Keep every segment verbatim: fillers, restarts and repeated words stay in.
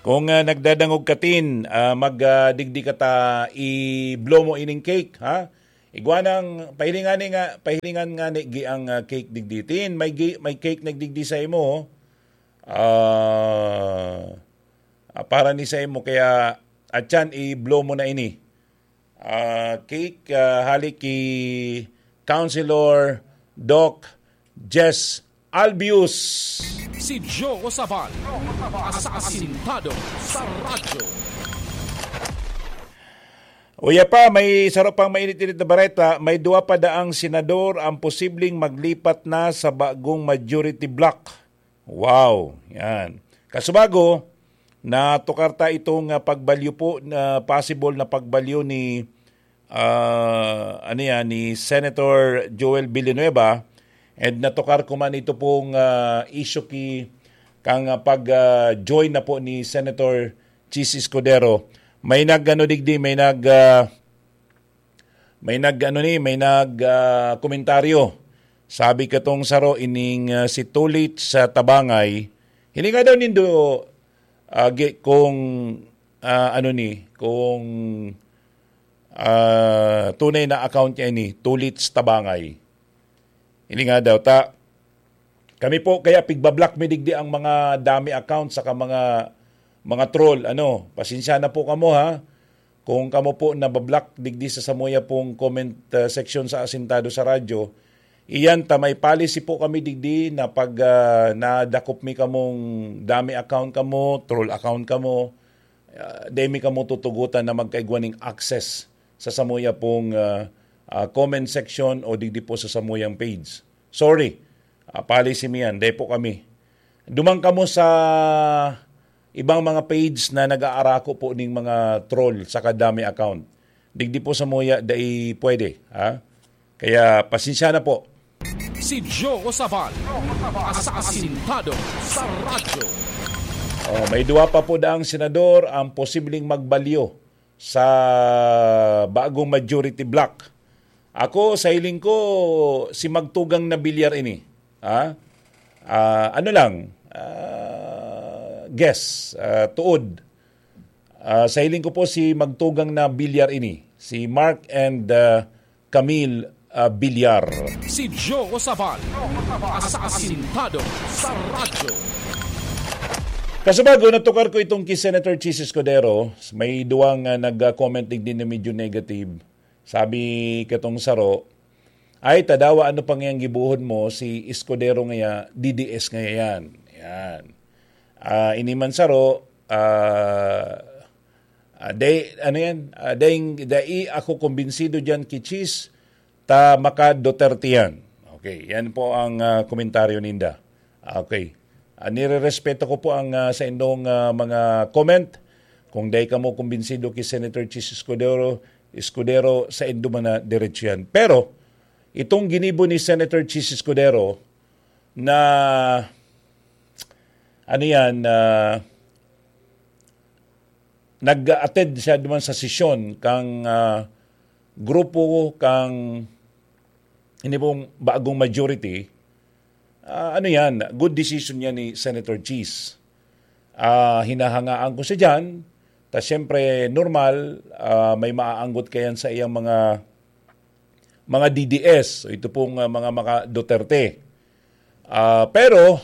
Kung, ah, nagdadangog ka, Tin, ah, mag, ah, digdi ka ta i-blow mo ining cake, ha? Igwa nang, pahilingan ni nga, pahilingan nga ni gi ang, ah, cake digdi. Tin, may gi-, may cake nagdigdi sa imo, oh. Ah, ah, para ni sa imo, kaya, atyan, i-blow mo na ini. Ah, cake, ah, hali ki Councilor Doc Jess Albius. Si Joe Sabal, asasintado sa radyo. Uya pa, may saro pang mainit-init na bareta. May duwa pa daang senador ang posibleng maglipat na sa bagong majority bloc. Wow, yan. Kasubago, natukar ta itong, ah, pagbalyo po, na possible na pagbalyo ni, ah, ano yan, ni Senator Joel Villanueva. And natukar ko man ito pong, ah, issue ki, kang, ah, pag, ah, join na po ni Senator Chiz Escudero. May nag, ano, digdi, may nag, ah, may nag, ano ni, may nag, ah, komentaryo. Sabi katong saro ining, ah, si Tulit sa Tabangay. Hilinga daw nindo, ah, gi-, kung, ah, ano ni, kung, ah, tunay na account niya ini, Tulit sa Tabangay. Hilinga daw ta. Kami po, kaya pigbablock mi digdi ang mga dami account saka mga, mga troll. Ano, pasensya na po kamo, ha. Kung kamo po nabablock digdi sa samuya pong comment, uh, section sa Asintado sa Radyo, iyan ta, may policy po kami digdi na pag, uh, nadakop mi kamong dami account kamo, troll account kamo, uh, dai mi kamo tutugutan na magkaigwa ning access sa samuya pong, uh, uh, comment section o digdi po sa samuyang page. Sorry, uh, policy mi yan, dai po kami. Duman kamo sa ibang mga page na nag-aarako po ning mga troll sa kadami account. Digdi po samuya, dai pwede, ha? Kaya pasensya na po. Si Joe Sabal, asasintado sa radyo. Oh, may duwa pa po daang senador ang posibleng magbalyo sa bagong majority bloc. Ako, sa hiling ko, si Magtugang na Bilyar ini. Ha? Ah, ano lang, ah, guess, ah, tuod. Ah, sa hiling ko po, si Magtugang na Bilyar ini. Si Mark and, ah, Camille, ah, Bilyar. Si Joe Sabal, asasintado sa radyo. Kasubago, natukar ko itong ki Senator Chiz Escudero. May duwang, ah, nag-comment digdi na medyo negative. Sabi katong saro, "Ay, tadawa, ano pa ngayang gibohon mo? Si Escudero ngaya, D D S ngaya yan." Yan. Ah, ini man saro, ah, ah, day, ano yan? Ah, dai, dai ako kumbinsido dyan ki Chiz, ta maka Duterte yan. Okay, yan po ang, ah, komentaryo ninda. Okay. Ah, nirerespeto ko po ang, ah, sa indong, ah, mga comment. Kung dai kamo kumbinsido ki Senator Chiz Escudero, Escudero, sa indo man na diretso yan. Pero, itong ginibo ni Senator Chiz Escudero na, ano yan, na nag-attend siya duman sa sesyon kang, ah, grupo kang ini pong bagong majority, ah, ano yan, good decision yan ni Senator Chiz. Ah, hinahangaan ko siya dyan. Ta siyempre, normal, ah, may maaanggot kayan sa iyang mga, mga D D S. So, ito pong, ah, mga maka Duterte. Ah, pero,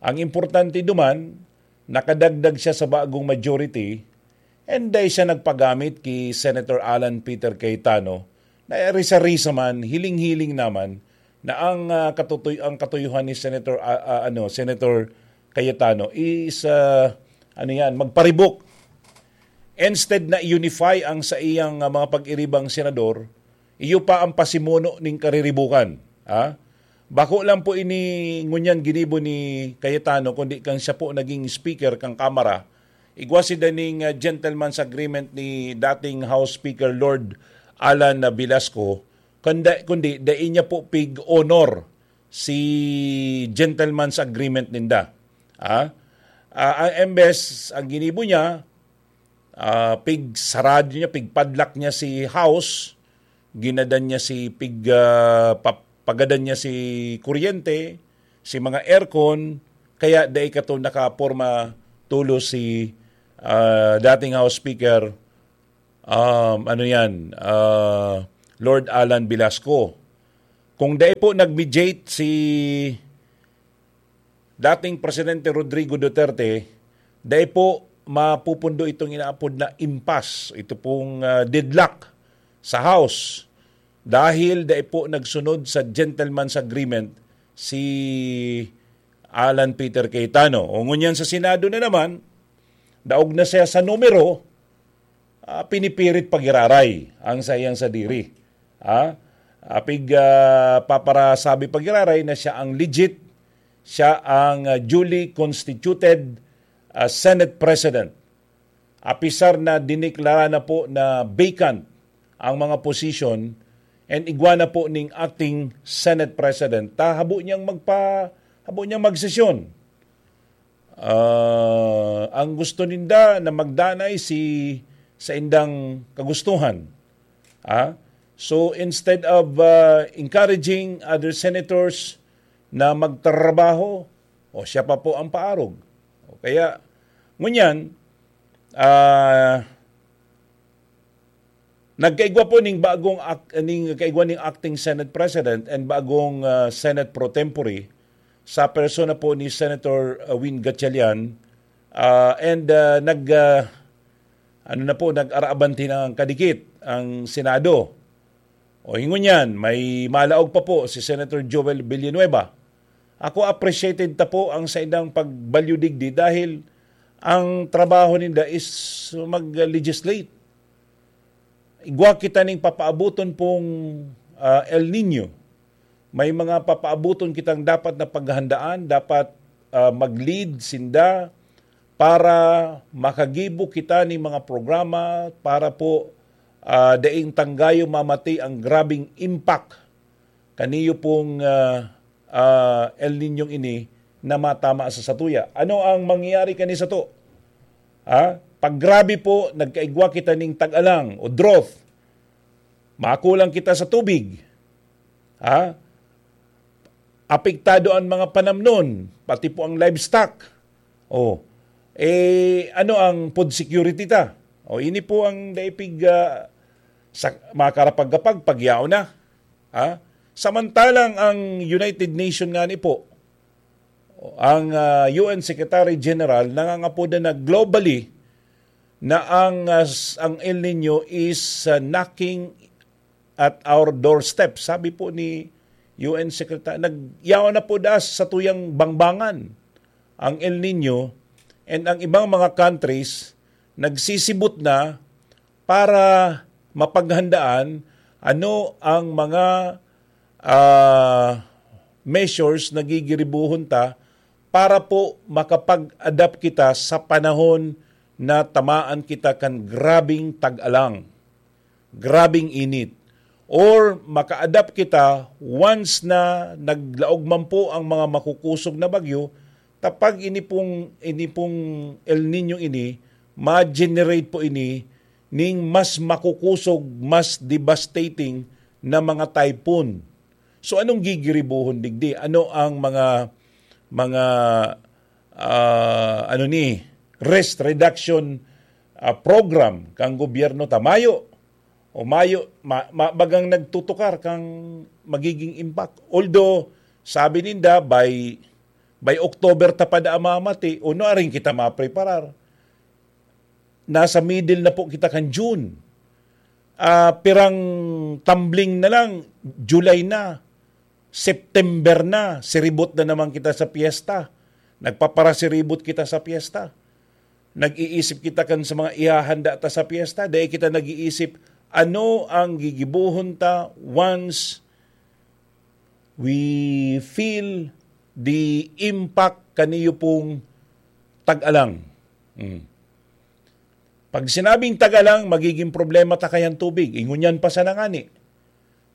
ang importante duman, nakadagdag siya sa bagong majority, and dai siya nagpagamit ki Senator Alan Peter Cayetano, na risa-risa man, hiling-hiling naman, na ang, ah, katutoy-, ang katuyuhan ni Senator, ah, ah, ano, Senator Cayetano is, ah, ano yan, magparibok. Instead na unify ang sa iyang, ah, mga pag-iribang senador, iyo pa ang pasimuno ning kariribukan. Ha? Bako lang po ini ngunyan ginibo ni Cayetano, kundi kan siya po naging speaker kan Kamara. Igwa si daning, ah, gentleman's agreement ni dating House Speaker Lord Alan, ah, Velasco, kundi, kundi dai niya po pig-honor si gentleman's agreement ninda. Ha? Ah, ang embes, ang ginibo niya, ah, pig sarado niya, pig padlock niya si House, ginadan niya si pig, ah, pa-, pagadan niya si kuryente, si mga aircon, kaya dai kato nakaporma tulos si, ah, dating House Speaker, um, ano yan, ah, Lord Alan Velasco. Kung dai po nag-mediate si dating Presidente Rodrigo Duterte, dai po mapupundo itong inaapod na impasse, ito pong, ah, deadlock sa House, dahil dai po nagsunod sa gentleman's agreement si Alan Peter Cayetano. O ngunyan sa Senado na naman, daog na siya sa numero, ah, pinipirit pag-iraray ang saiyang sadiri. Ah, apig, ah, paparasabi pag-iraray na siya ang legit, siya ang, ah, duly constituted, ah, Senate President. Apisar na dineklara na po na vacant ang mga position and igwa na po ning acting Senate President, ta habo niyang magpa-, habo niyang magsesyon. Ah, ang gusto ninda na magdanay si sa indang kagustuhan. Ah? So instead of, ah, encouraging other senators na magtrabaho, o siya pa po ang paarog. O kaya, ngunyan, ah, nagkaigwa po ning bagong ak-, ning kaigwa ning acting Senate President and bagong, ah, Senate pro tempore sa persona po ni Senator, ah, Win Gatchalian, ah, and, ah, nag, ah, ano na po, nag-araabante ng kadikit ang Senado. O hingon yan, may malaog pa po si Senator Joel Villanueva. Ako, appreciated ta po ang saindang pagbalyo digdi dahil ang trabaho ninda is mag-legislate. Igwa kita ning papaaboton pong, ah, El Nino. May mga papaaboton kitang dapat na paghandaan, dapat, ah, mag-lead sinda para makagibo kita ning mga programa para po, ah, daing tanggayo mamati ang grabing impact kaniyo pong, ah, ah, El Niñong ini na matama sa satuya. Ano ang mangyayari kani sato? Ha? Pag grabe po, nagkaigwa kita ning tag-alang o drought, makulang kita sa tubig. Ha? Apektado ang mga panamnon, pati po ang livestock. Oh, eh, ano ang food security ta? O, ini po ang daipig, ah, sa, makarapagkapag, pagyaw na. Ha? Samantalang ang United Nation nga ni po, ang, ah, U N Secretary General, nangangapoda na globally na ang, ah, s-, ang El Nino is, ah, knocking at our doorstep. Sabi po ni U N Secretary, nagyaon na po das sa tuyang bangbangan ang El Nino, and ang ibang mga countries nagsisibot na para mapaghandaan ano ang mga, ah, measures na gigiribuhon ta para po makapag-adapt kita sa panahon na tamaan kita kan grabing tag-alang, grabing init, or maka-adapt kita once na naglaog man po ang mga makukusog na bagyo, ta pag ini pong, ini pong El Nino ini, ma-generate po ini ning mas makukusog, mas devastating na mga typhoon. So, anong gigiribuhon digdi? Ano ang mga, mga, ah, ano ni, risk reduction, ah, program kang gobyerno ta? Mayo. O mayo, ma-, ma-, bagang nagtutukar kang magiging impact. Although, sabi ninda, by, by October ta pa daa mamati, o nuaring kita mapreparar. Nasa middle na po kita kan June. Ah, pirang tumbling na lang, July na, September na, siribot na naman kita sa piyesta. Nagpaparasiribot kita sa piyesta. Nag-iisip kita kan sa mga ihahanda ta sa piyesta. Dai kita nag-iisip, ano ang gigibohon ta once we feel the impact kaniyo pong tag-alang. Mm. Pag sinabing tag-alang, magiging problema ta kayan tubig. Ingon yan pa sana ngani.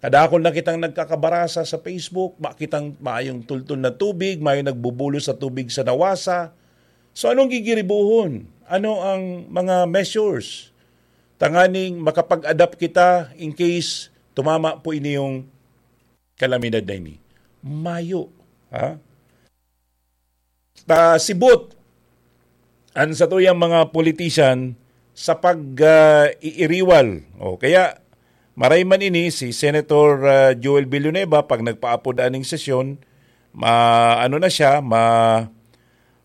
Kadakol na kitang nagkakabarasa sa Facebook, makitang maayong tultol na tubig, may nagbubulos sa tubig sa nawasa. So, anong gigiribuhon? Ano ang mga measures? Tanganing makapag-adapt kita in case tumama po ini yung kalamidad na ini. Mayo. Ha? Ta, sibot. an satuyang mga politician sa pag, ah, iiriwal. O, kaya maray man ini si Senator, ah, Joel Villanueva, pag nagpaapod aning sesyon, ma-, ano na siya, ma-,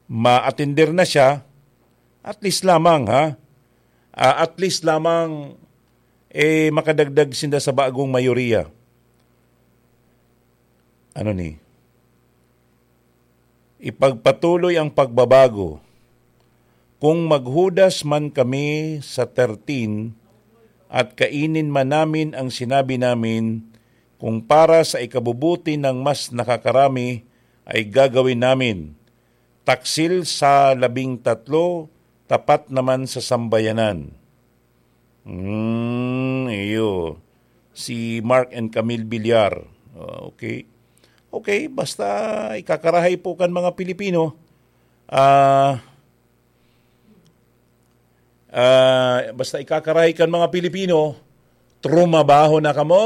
ma-attender na siya, at least lamang, ha? Ah, at least lamang, eh, makadagdag sinda sa bagong mayoriya. Ano ni? Ipagpatuloy ang pagbabago. Kung maghudas man kami sa thirteen at kainin man namin ang sinabi namin, kung para sa ikabubuti ng mas nakakarami ay gagawin namin. Taksil sa labing tatlo, tapat naman sa sambayanan. Hmm, iyo. Si Mark and Camille Villar. Ah, okay. Okay, basta ikakarahay po kan mga Pilipino. Ah, ah, basta ikakarahay kan mga Pilipino, trumabaho na kamo.